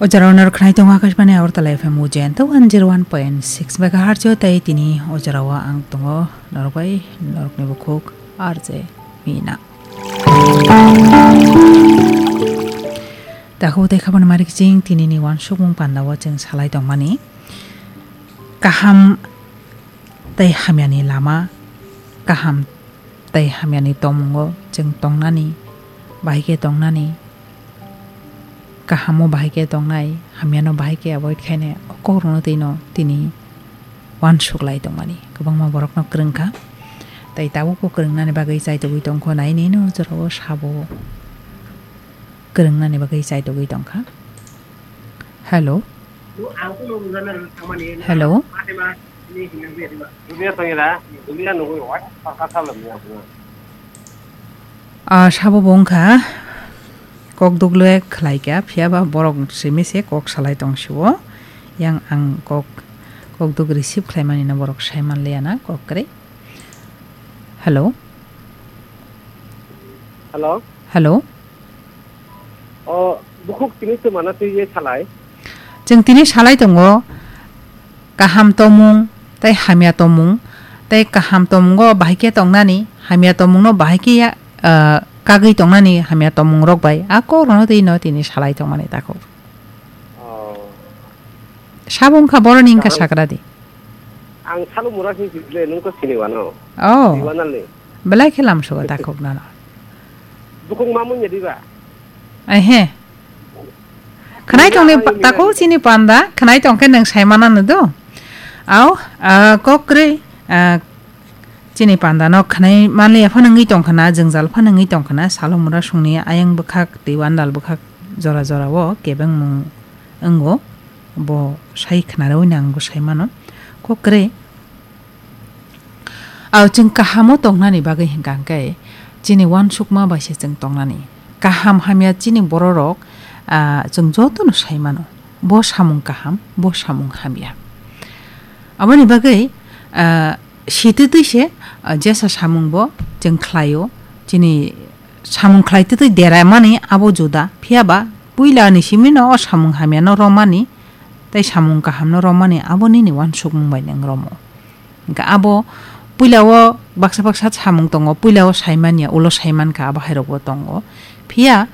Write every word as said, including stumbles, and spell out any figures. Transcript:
O jora o norok khnai tongo Akashbani Agartala F M o Jayanta one zero one point six megahertz o, tei tini o jora o ang tongo norok bai norokni bukhuk R J Mina. Takhuk tei khabangni mari kiching tinini uansukmung panda o chwng salai tongmani. Kaham tei hamyani lama, kaham tei hamyani tongmungo chwng tongnani, bahai khe tongnani, kahamo bahai khe tongnai, hamyano bahai khe avoid khainai, o kokrokno twino tini uansuk lai tongmani kwbangma borokno kwrwng kha. Tei tabukbo kwrwngnani bagwi chaitogwi tongkho, nai nini o jorao sabo kwrwngnani bagwi chaitogwi tongkha. Hello. Hello. Ah, sabo bo wngkha kok dugle khlai kha, phiya ba borok simi se kok salai tong sio. Yang ang kok, kok duk receive khlai mani no borok sai man liya na kok kwrwi. Hello. Hello. Hello. O bukhuk tini twmana twi je salai. Chwng tini salai tongo, kaham tongmung tei hamya tongmung, tei kaham tongmungo bahai khe tongnani, hamya tongmungno bahai khe ya, ah, kagwi tongnani hamya tongmung rok bai a kok rono twi no tini salai tongmani takhuk. Oh. Sabo wngkha boroni wngkha. Kaham. Sakra di. Ang salo mura sing sile nung ko sini wano. Oh. Iwana le. Belai khe lam sugo takhuk nano. Bukung mamun ya diba. Ai he. Khwnai tongni takhuk chini panda, khwnai tongkhe nang sai mana no do. Au, ah, kok kwrwi, ah, chini panda no khwnai manliya phano wngwi tongkhana, jwngjal phano wngwi tongkhana, salo mura songni ayang bwkhak, tei wandal bwkhak jora jora o kebengmung wngo, bo sai khwnarwi nang bo sai mano. Kok kwrwi. Au chwng kahamo tongnani bagwi hwnkha hwnkhe chini uansukma bai se chwng tongnani. Kaham hamya chini bororok, ah, chwng jotono sai mano. Bo samung kaham, bo samung hamya. Aboni bagwi, ah, sitwi twi se, ah, jesa samung bo chwng khlaio. Chini samung khlai twi twi deramani abo juda. Phiya ba puila ni simi no o samung hamya no romani tei samung kaham no romani abo nini uansukmung bai nang romo. Hingke abo puila o baksa baksa samung tongo, puila o saimanya, ulo saimankha, abo hai rok bo tongo. Phiya